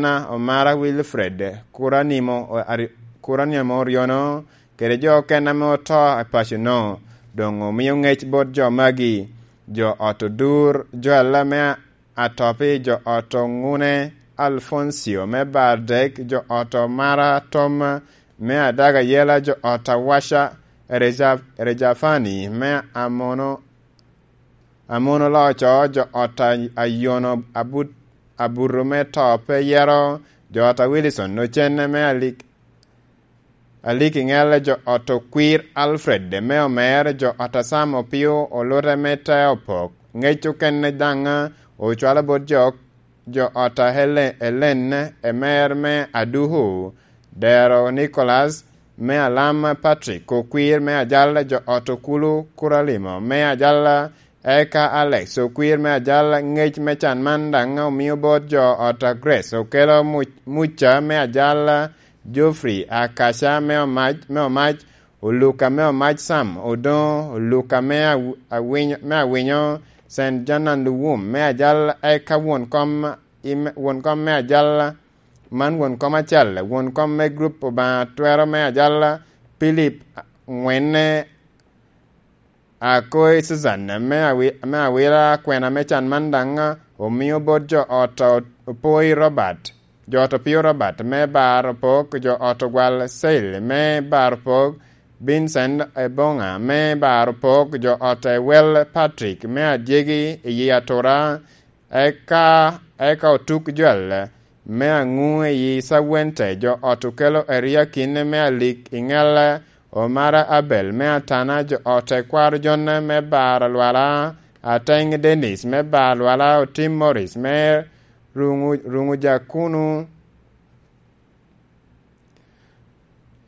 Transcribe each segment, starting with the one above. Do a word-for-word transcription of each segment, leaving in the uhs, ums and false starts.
Omara Wilfred, Kuranimo, Ari-, Kuranimo Oryono, kede jo okene ame oto i paco-nu, doŋ omio ŋec bot jo magi. Jo ot Odur, Joel me Atopi, jo ot Oŋune, Alfoncio me Bardek, jo ot Omara Tom me Adaga Yela, jo ot Awaca Reja-, Rejafani me Amono, Amono Loco, jo ot a-, Ayono Abut-, Abuto me To Pe Yero, jo ot a Wilson Ocenne me Alik-, Aliki Ŋelle, jo ot Okwir Alfred me Omer, jo ot a Sam Opio Olute me Te Opok. Ŋec okene daŋ ocwalo bot jo, jo ot a Helen, Elen Emer me Aduku, Dero Nicholas me Alam, Patrick Okwir me Ajal, jo ot Okulu Kuralimo me Ajal, eka Alex Okwir me Ajal. Ŋec me can man daŋ omio bot jo ot a Grace Okelo Mu-, Muca me Ajal, Geoffrey Akaca me Omac, me Omac, Oluka me Omac Sam Odoŋo, Oluka me Aw-, Awinyo, me Awinyo, Saint Jonan Luwum me Ajal, eka won kom i me, won kom me Ajal, man won kom acel, won kom me grup Obaŋa Twero me Ajal, Philip Ŋwenne, Akoi Susan me Awi-, me Awila. Kwena me can man daŋ omio bot jo ot a Opoi Robert, jo ot Opio Robert me Bar Opok, jo ot Ogwal Seil me Bar Opok, Vincent Ebonga me Bar Opok, jo ot Ewel Patrick me Adyegi i yi Atura, eka, eka Otuk Joel me Aŋu i yi Cawente, jo ot Okelo Eriakin me Alik i Ŋelle, Omara Abel me Atana, jo ot Ekwaro Jonne me Bar Alwala, Ateny Dennis me Bar Alwala, Otim Morris me Ruŋu, Ruŋu Jakunu,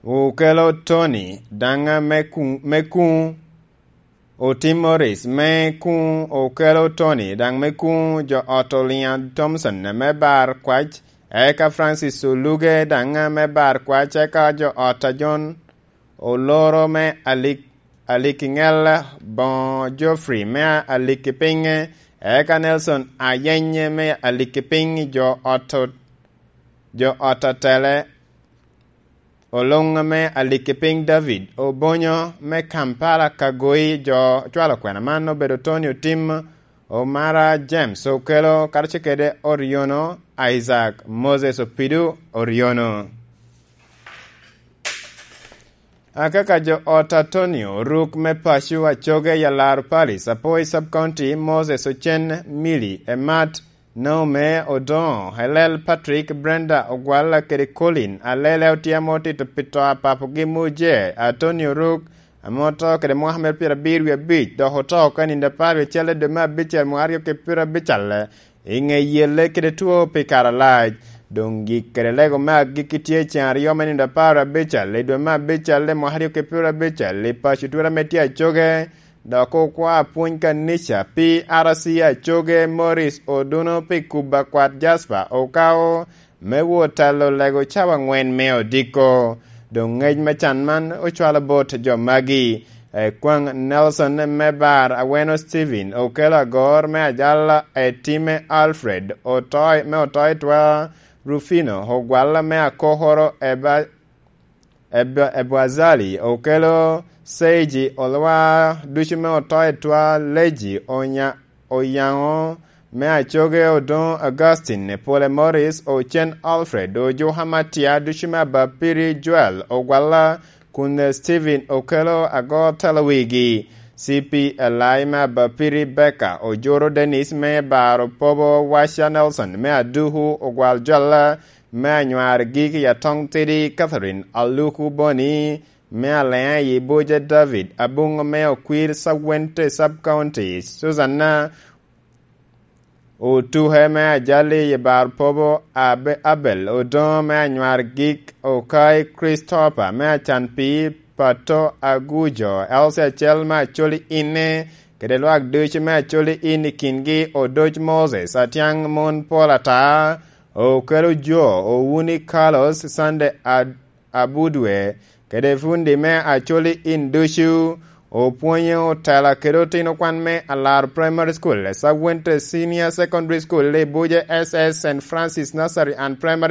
Okelo Tony daŋ me Kuŋ, me Kuŋ, Otim Morris me Kuŋ, Okelo Tony daŋ me Kuŋ, jo ot Oliŋa Thompson me Bar Kwac, eka Francis Oluge daŋ me Bar Kwac, eka jo ot a John Oloro me Alik, Alikiŋel, Boŋo Geoffrey me Alikipiŋ, eka Nelson Ayeny me Alikipiŋ, jo ot, jo ot Atele Oloŋ me Alikipiŋ, David Obonyo me Kampala. Ka goyi jo cwalo kwena man obedo Tony Otim, Omara James Okelo, karacel kede Oriono Isaac, Moses Opido Oriono. Akaka jo ot Antonio Ruk me paco Acoge, Yalaro Parish, Apoi Sub County, Moses Ocen, Milly Emat, Naomi Odoŋo, Helel Patrick, Brenda Ogwalla kede Colin Alele, otye ame otito pi to a papogi Muje Antonio Ruk, ame oto kede mwaka mere pyerabiro wie abic, dok oto oko i nino apar wie acel i dwe me abicel mwaka aryo kede pyerabicel, i ŋe yelle kede two pi kare alac. Doŋ gik kede lego me agikki tye i ceŋ aryo me nino apar abicel i dwe me abicel i mwaka aryo kede pyerabicel i paco Twera ame tye Acoge, dok okwa apwony kanica P R C Acoge, Morris Oduno, pi kubo akwat Jasper Okao me wot telo lego cawa aŋwen me odiko. Doŋ ŋec me can man ocwalo bot jo magi: Ekwaŋ Nelson me Bar Aweno, Stephen Okelo Agor me Ajala, Etime Alfred Otoi me Otoi Twa, Rufino Ogwalla me Akokoro, Eba-, Eb-, Ebwazali Okelo, Seiji Olwa, ducu me Otoi Twa, Leji Onya-, Oyaŋo me Acoge, Odoŋo Augustine, Pole Morris, Ocen Alfred, Ojuka Matia, ducu me Abapiri, Joel Ogwalla, kun Stephen Okelo Agor telo wigi, C P Elai me Abapiri, Beka Ojoro, Dennis me Bar Opobo, Waca Nelson me Aduku, Ogwal Jolla me Anywar Gik i Atoŋ Tidi, Catherine Aluku Boni me Aleŋa i Buje, David Abuŋo me Okwir Sub Wente Sub County, Susanna Otuke me Ajali i Bar Pobo, Abe-, Abel Odoŋo me Anywar Gik, Okai Christopher me Acan Pii, Pato Agujo, Elsie Acel me Acoli Inne, kede lwak ducu me Acoli In i kingi, Odoc Moses Atiaŋ, mon pol ata, Okelo Jo, Owuni Carlos, Sunday Ad-, Abudwe, kede fundi me Acoli In ducu, Opwonyo otela kede otino kwan me Alar Primary School, Esawente Senior Secondary School, Lebuja S S, Saint Francis Nursery and Primary